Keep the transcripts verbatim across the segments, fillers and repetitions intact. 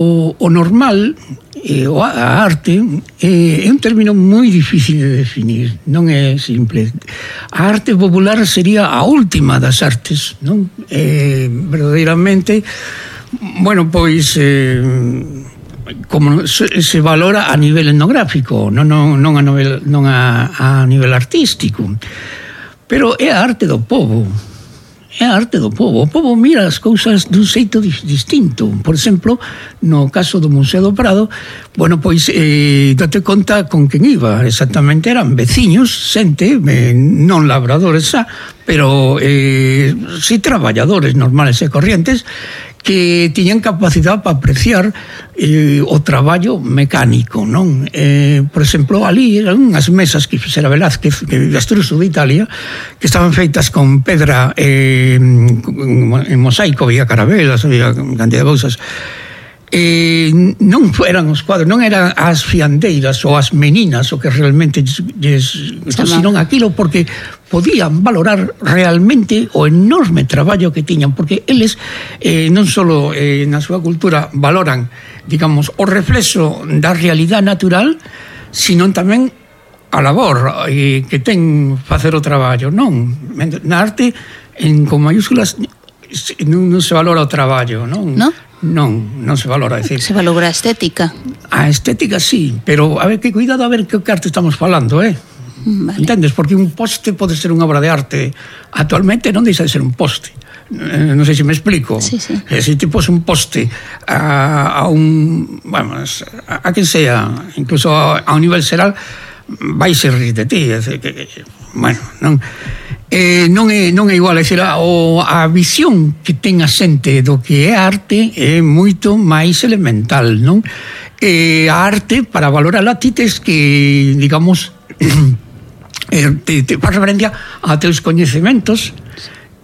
O, o normal, eh, o a arte, eh, é un término moi difícil de definir, non é simple. A arte popular sería a última das artes, non? Eh, verdadeiramente, bueno, pois, eh, como se, se valora a nivel etnográfico, non, non, non, a, novel, non a, a nivel artístico, pero é a arte do povo. É a arte do povo. O povo mira as cousas dun xeito distinto. Por exemplo, no caso do Museo do Prado, bueno, pois, eh, date conta con quen iba. Exactamente eran veciños, xente, eh, non labradores xa, pero eh, si traballadores normales e corrientes que tiñan capacidade para apreciar eh, o traballo mecánico, non? Eh, por exemplo, ali eran unhas mesas que fixera Velázquez, que destruxo de Italia, que estaban feitas con pedra eh, en mosaico, había carabelas, había cantidad de cousas. Eh, non eran os cuadros, non eran as fiandeiras ou as meninas o que realmente lles, senón aquilo, porque podían valorar realmente o enorme traballo que tiñan, porque eles eh, non só eh, na súa cultura valoran, digamos, o reflexo da realidade natural, sino tamén a labor eh, que ten facer o traballo, non? Na arte, en, con mayúsculas, non, non se valora o traballo, non? Non? Non, non se valora, decir. Se valora a estética. A estética sí, pero a ver, que cuidado a ver que arte estamos falando, eh? Vale. Entendes? Porque un poste pode ser unha obra de arte. Actualmente non deixa de ser un poste. Eh, non sei se me explico. Sí, sí. Eh, se ti pos un poste a, a un... Vamos, a, a quen sea, incluso a, a un nivel xeral, vai ser rir de ti. É decir, que, que, bueno, non... Eh, non é non é igual, é dicir, a, o, a visión que ten a xente do que é arte é moito máis elemental, non? Eh, a arte, para valorarla, ti tes que, digamos, eh, te, te faz referencia a teus coñecementos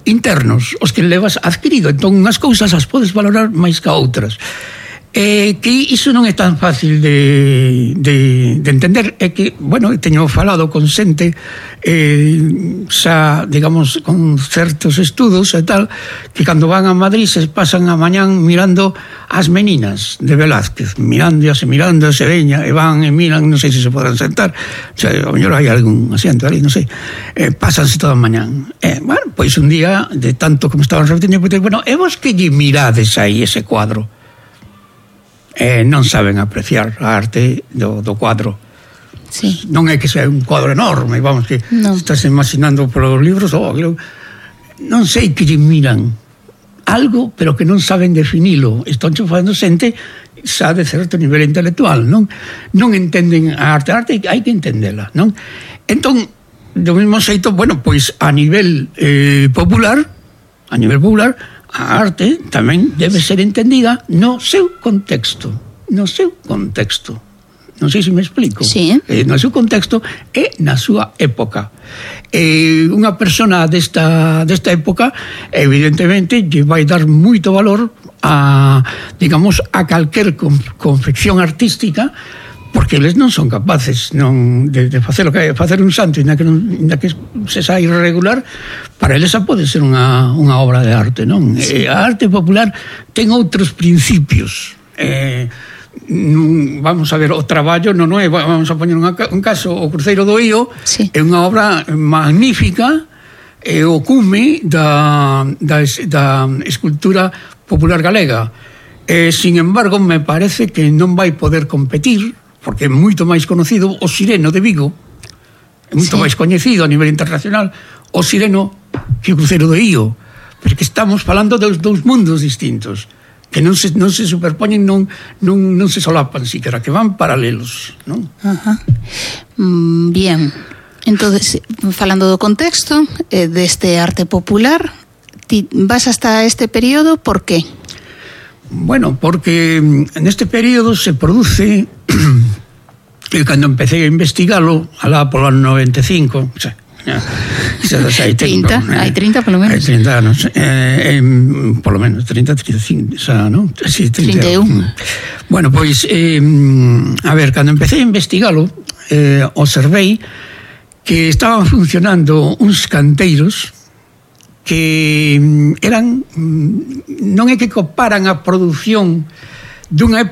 internos, os que levas adquirido. Entón, unhas cousas as podes valorar máis que outras. Eh, que iso non é tan fácil de, de, de entender. É que, bueno, teño falado con xente eh, xa, digamos, con certos estudos e tal, que cando van a Madrid se pasan a mañán mirando as meninas de Velázquez, mirándoas e mirándoas e veña, e van e miran, non sei se se poden sentar, o sea, a mellor hai algún asiento ali, non sei, eh, pásanse toda a mañán. Eh, bueno, pois un día, de tanto como estaban repetindo, bueno, e vos que lle mirades aí ese cuadro? Eh, non saben apreciar a arte do, do cuadro. Sí. Non é que sea un cuadro enorme, vamos, que no. Estás imaginando polos libros, oh, non sei que lle miran algo, pero que non saben definilo. Están facendo xente xa de certo nivel intelectual, non? Non entenden a arte, a arte hai que entendela, non? Entón, do mesmo xeito, bueno, pois a nivel eh, popular, a nivel popular, a arte tamén debe ser entendida no seu contexto, no seu contexto. Non sei se me explico. Sí. Eh, no seu contexto e na súa época. Eh, unha persona desta, desta época, evidentemente, lle vai dar moito valor a, digamos, a calquer confección artística, porque eles non son capaces non de, de facer o que facer un santo, inda que, non, inda que se xa irregular, para eles xa pode ser unha, unha obra de arte, non? Sí. Eh, a arte popular ten outros principios. Eh, vamos a ver, o traballo non, non é, vamos a poñer unha, un caso, o Cruceiro do Ío, sí. É unha obra magnífica, é o cume da, da, da escultura popular galega. Eh, sin embargo, me parece que non vai poder competir, porque é moito máis conocido o Sireno de Vigo, é moito sí. máis coñecido a nivel internacional o Sireno que o Cruceiro do Ío, porque estamos falando dos dous mundos distintos que non se, non se superpoñen, non, non, non se solapan siquiera, que van paralelos, non? Ajá. Mm, bien, entonces, falando do contexto eh, deste arte popular, ti vas hasta este período, por qué? Bueno, porque neste período se produce, e cando empecé a investigalo, alá polo ano noventa e cinco, o sea, hai trinta, hai trinta polo menos. Hai trinta anos, eh, eh, polo menos, trinta, trinta e cinco, xa, non? Sí, trinta e un. Bueno, pois, eh, a ver, cando empecé a investigalo, eh, observei que estaban funcionando uns canteiros que eran, non é que coparan a produción dunha